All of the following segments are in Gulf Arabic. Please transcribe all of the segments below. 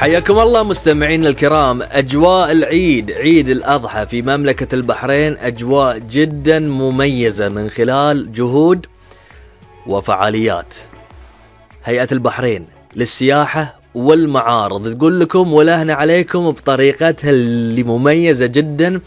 حياكم الله مستمعين الكرام. أجواء العيد، عيد الأضحى في مملكة البحرين أجواء جدا مميزة من خلال جهود وفعاليات هيئة البحرين للسياحة والمعارض. تقول لكم ولهنا عليكم بطريقتها اللي مميزة جدا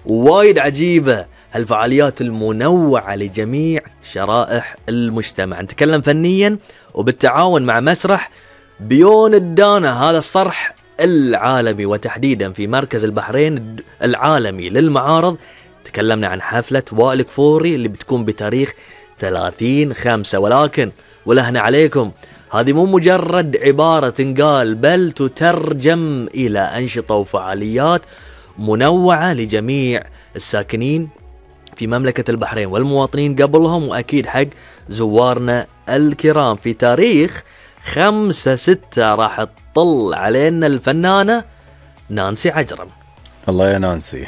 ووايد عجيبة، هالفعاليات المنوعة لجميع شرائح المجتمع. نتكلم فنيا وبالتعاون مع مسرح بيون الدانا، هذا الصرح العالمي وتحديدا في مركز البحرين العالمي للمعارض. تكلمنا عن حفلة وائل كفوري اللي بتكون بتاريخ 30/5، ولكن ولهنا عليكم هذه مو مجرد عبارة تنقال، بل تترجم إلى أنشطة وفعاليات منوعة لجميع الساكنين في مملكة البحرين والمواطنين قبلهم، وأكيد حق زوارنا الكرام. في تاريخ 5/6 راح تطل علينا الفنانة نانسي عجرم. الله يا نانسي.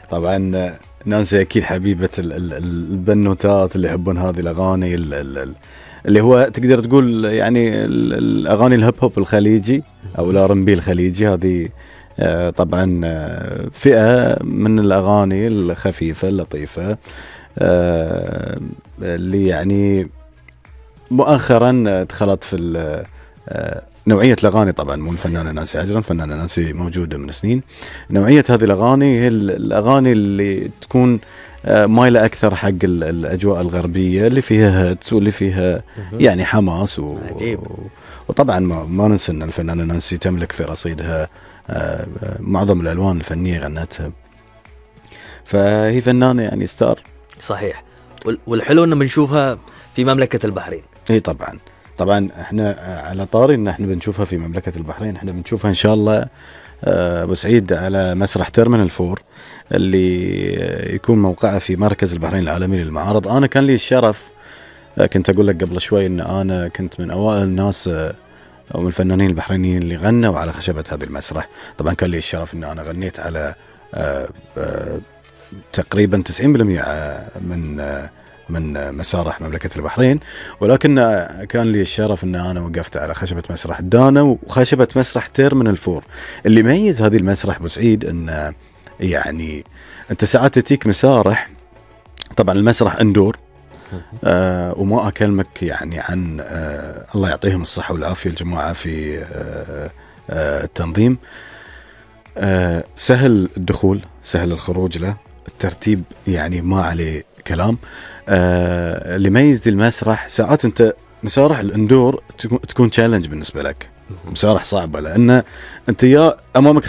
طبعا نانسي أكيد حبيبة البنوتات اللي يحبون هذه الأغاني اللي هو تقدر تقول يعني الأغاني الهيب هوب الخليجي أو الR&B الخليجي. هذه طبعا فئة من الأغاني الخفيفة اللطيفة اللي يعني مؤخرا دخلت في نوعية الأغاني. طبعا مو الفنانة نانسي عجرم، فنانة نانسي موجودة من سنين. نوعية هذه الأغاني هي الأغاني اللي تكون مايلة أكثر حق الأجواء الغربية اللي فيها هيتس واللي فيها يعني حماس وطبعا ما ننسى أن الفنانة نانسي تملك في رصيدها معظم الألوان الفنية غنتها، فهي فنانة يعني ستار. صحيح. والحلو أنه بنشوفها في مملكة البحرين. اي طبعا احنا على طاري ان احنا بنشوفها في مملكة البحرين. احنا بنشوفها ان شاء الله ابو سعيد على مسرح تيرمينال 4 اللي يكون موقعه في مركز البحرين العالمي للمعارض. انا كان لي الشرف، كنت اقول لك قبل شوي ان انا كنت من اوائل الناس او من الفنانين البحرينيين اللي غنوا على خشبة هذا المسرح. طبعا كان لي الشرف ان انا غنيت على تقريبا 90% من مسارح مملكة البحرين، ولكن كان لي الشرف ان انا وقفت على خشبة مسرح الدانا وخشبة مسرح تيرمينال 4. اللي يميز هذه المسرح ابو سعيد ان يعني انت ساعات تتيك مسارح، طبعا المسرح اندور وما اكلمك يعني عن الله يعطيهم الصحة والعافية الجماعة في التنظيم. سهل الدخول سهل الخروج له، الترتيب يعني ما عليه كلام. اللي يميز المسرح ساعات انت مسارح الاندور تكون تشالنج بالنسبة لك، مسارح صعبة لان انت يا امامك